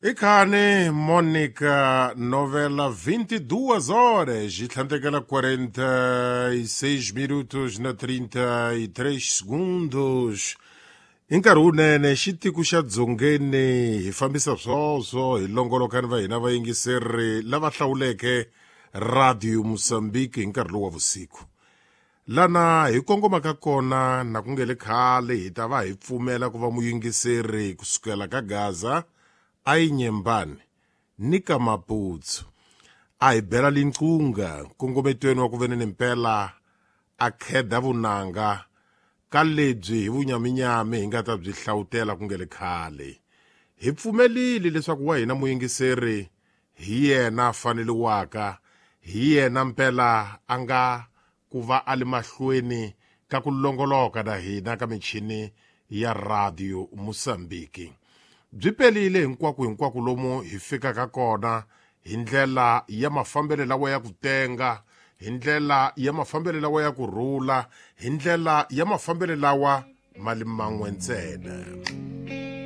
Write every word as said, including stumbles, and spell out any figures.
Ikhani Monica novela vinte e duas horas e tlhandlekela quarenta e seis minutos na trinta e três segundos. Hi nkarhi wunene xitiko xa dzongeni hi fambisa swoswo hi longoloka ni va hina vayingiseri lava hlawuleke Radio Mosambiki hi nkarhi lowu wa vusiku. Lana hi kongomaka kona na ku nge le khale hi ta va hi pfumela ku va muyingiseri kusukela ka Gaza a yi Nyembani ni ka Maputsu a hi bela linqunga nkongometweni wa ku veneni mpela a kheda vunanga ka lebyi hi vunyaminyami hi nga ta byi hlawutela ku nge le khale. Hi pfumelile leswaku wa hina muyingiseri hi yena a faneliwaka, hi yena mpela a nga ku va a li mahlweni ka ku longoloka na hina ka michini ya Radio Mosambiki. Byi pelile hinkwako hinkwako lomu hi fikaka kona hi ndlela ya mafambelo lawa ya ku tenga, hi ndlela ya mafambelo lawa ya ku rhula, hi ndlela ya mafambelo lawa ma li man'we ntsena.